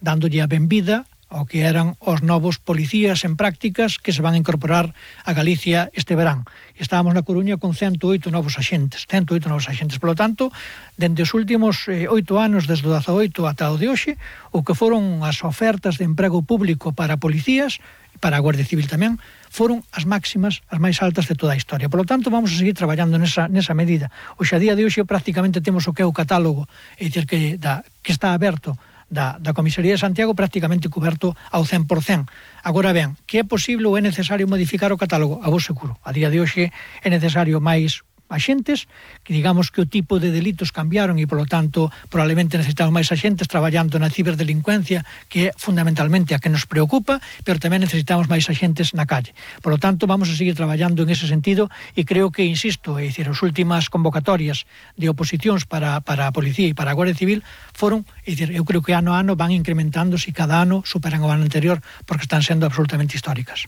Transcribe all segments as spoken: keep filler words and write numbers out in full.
dándolle a benvida ao que eran os novos policías en prácticas que se van a incorporar a Galicia este verán. Estábamos na Coruña con ciento oito novos axentes, ciento oito novos axentes. Por lo tanto, dende os últimos eh, oito anos, desde o dezaoito ata o de hoxe, o que foron as ofertas de emprego público para policías, para a Guardia Civil tamén, foron as máximas, as máis altas de toda a historia. Por lo tanto, vamos a seguir traballando nesa, nesa medida. Hoxe, a día de hoxe, prácticamente temos o que é o catálogo, é dicir, que, da, que está aberto da, da Comisaría de Santiago prácticamente coberto ao cen por cen. Agora ben, que é posible ou é necesario modificar o catálogo? A vos seguro. A día de hoxe é necesario máis axentes, que digamos que o tipo de delitos cambiaron e, polo tanto, probablemente necesitamos máis axentes traballando na ciberdelincuencia, que é fundamentalmente a que nos preocupa, pero tamén necesitamos máis axentes na calle. Por lo tanto, vamos a seguir traballando en ese sentido e creo que, insisto, é dicir, as últimas convocatorias de oposicións para, para a Policía e para a Guardia Civil foron, é dicir, eu creo que ano a ano van incrementándose e cada ano superan o ano anterior porque están sendo absolutamente históricas.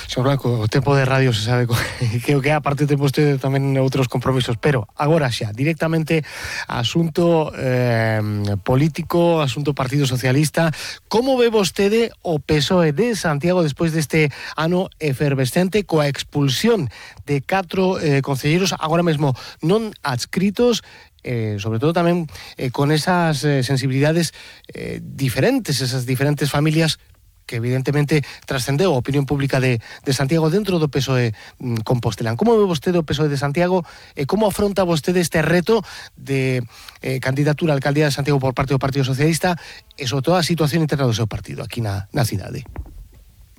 Señor Blanco, o tempo de radio se sabe que o que é, aparte tempo usted tamén outros compromisos, pero agora xa, directamente asunto eh, político, asunto Partido Socialista. Como ve vostede o P S O E de Santiago despois deste ano efervescente coa expulsión de catro eh, concelleiros agora mesmo non adscritos, Eh, sobre todo tamén eh, con esas eh, sensibilidades eh, diferentes, esas diferentes familias que evidentemente trascendeu a opinión pública de, de Santiago dentro do P S O E mm, Compostelán. Como ve vostede o P S O E de Santiago e eh, como afronta vostede este reto de eh, candidatura á alcaldía de Santiago por parte do Partido Socialista e sobre todo a situación interna do seu partido aquí na, na cidade?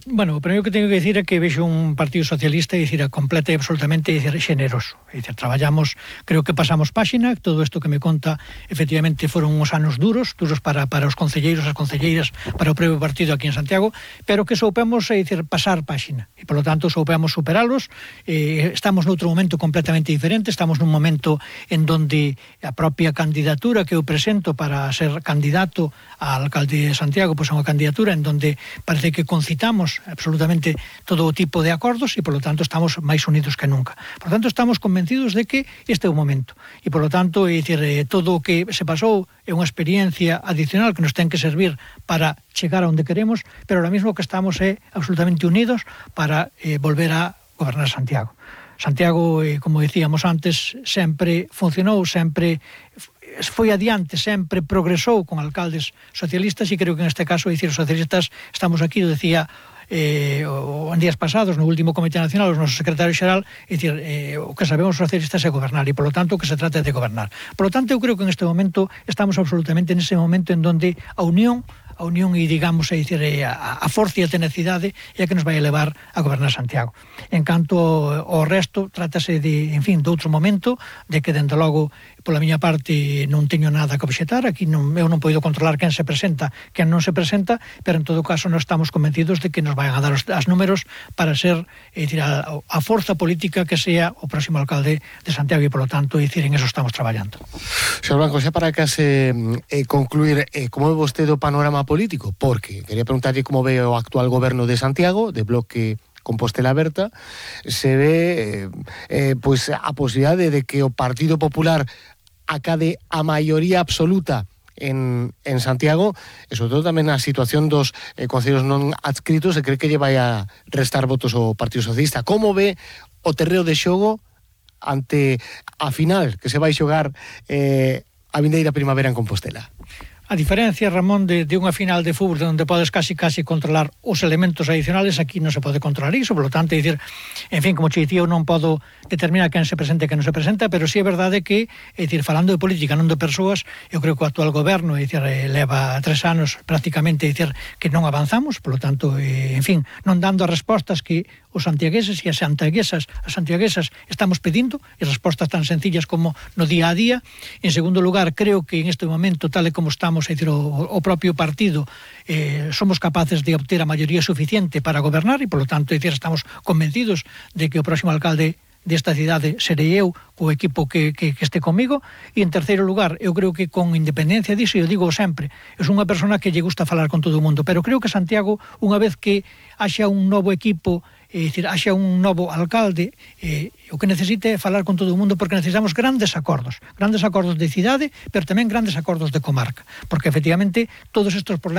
Bueno, o primeiro que teño que dicir é que vexo un Partido Socialista, é dicir, completa e absolutamente, é dicir, xeneroso. É dicir, traballamos, creo que pasamos páxina, todo isto que me conta, efectivamente, foron uns anos duros, duros para, para os concelleiros, as concelleiras, para o propio partido aquí en Santiago, pero que soupemos, é dicir, pasar páxina. E, por lo tanto, soupemos superalos. Eh, estamos noutro momento completamente diferente, estamos nun momento en donde a propia candidatura que eu presento para ser candidato a alcalde de Santiago, pois é unha candidatura en donde parece que concitamos absolutamente todo o tipo de acordos e, por lo tanto, estamos máis unidos que nunca. Por lo tanto, estamos convencidos de que este é o momento. E, por lo tanto, é dicir, todo o que se pasou é unha experiencia adicional que nos ten que servir para chegar a onde queremos, pero ahora mismo que estamos é absolutamente unidos para eh, volver a gobernar Santiago. Santiago, eh, como decíamos antes, sempre funcionou, sempre foi adiante, sempre progresou con alcaldes socialistas e creo que en este caso, é dicir, os socialistas estamos aquí, o decía eh, o, en días pasados no último Comité Nacional o noso secretario xeral, é dicir, eh, o que sabemos os socialistas é gobernar e, polo tanto, o que se trata é de gobernar. Por lo tanto, eu creo que en este momento estamos absolutamente nese momento en donde a unión a unión e, digamos, é dicir, a, a forza e a tenacidade é a que nos vai levar a gobernar Santiago. En canto ao resto, trátase de, en fin, de outro momento, de que, dende logo, pola miña parte, non teño nada que obxetar, aquí non, eu non podo controlar quen se presenta, quen non se presenta, pero en todo caso non estamos convencidos de que nos vayan a dar os as números para ser, é dicir, a, a forza política que sea o próximo alcalde de Santiago e, polo tanto, é dicir, en eso estamos traballando. Señor Blanco, xa para case eh, concluir, eh, como ve vostede o panorama político? Porque quería preguntarlle como ve o actual goberno de Santiago, de Bloque Compostela Aberta, se ve eh, eh, pues, a posibilidade de que o Partido Popular acade a maioría absoluta en, en Santiago, e sobre todo tamén a situación dos eh, concellos non adscritos, e cree que lle vai a restar votos ao Partido Socialista. Como ve o terreo de xogo ante a final que se vai xogar eh, a vindeira primavera en Compostela? A diferencia, Ramón, de, de unha final de fútbol onde podes casi casi controlar os elementos adicionales, aquí non se pode controlar iso, por lo tanto, é dicir, en fin, como che dicía, eu non podo determinar quen se presenta e quen non se presenta, pero sí é verdade que, é dicir, falando de política, non de persoas, eu creo que o actual goberno, é dicir, leva tres anos prácticamente, é dicir, que non avanzamos, por lo tanto, eh, en fin, non dando as respostas que os santiagueses e as santiaguesas, as santiaguesas estamos pedindo, e respostas tan sencillas como no día a día. En segundo lugar, creo que en este momento, tal e como estamos, é dicir, o, o propio partido, eh, somos capaces de obter a maioría suficiente para gobernar e, por lo tanto, é dicir, estamos convencidos de que o próximo alcalde desta cidade serei eu, o equipo que, que, que este comigo. E en terceiro lugar, eu creo que con independencia disso, eu digo sempre, é unha persona que lle gusta falar con todo o mundo, pero creo que Santiago, unha vez que haxa un novo equipo, é dicir, haxa un novo alcalde, eh, o que necesite é falar con todo o mundo, porque necesitamos grandes acordos, grandes acordos de cidade, pero tamén grandes acordos de comarca, porque efectivamente todos estes problemas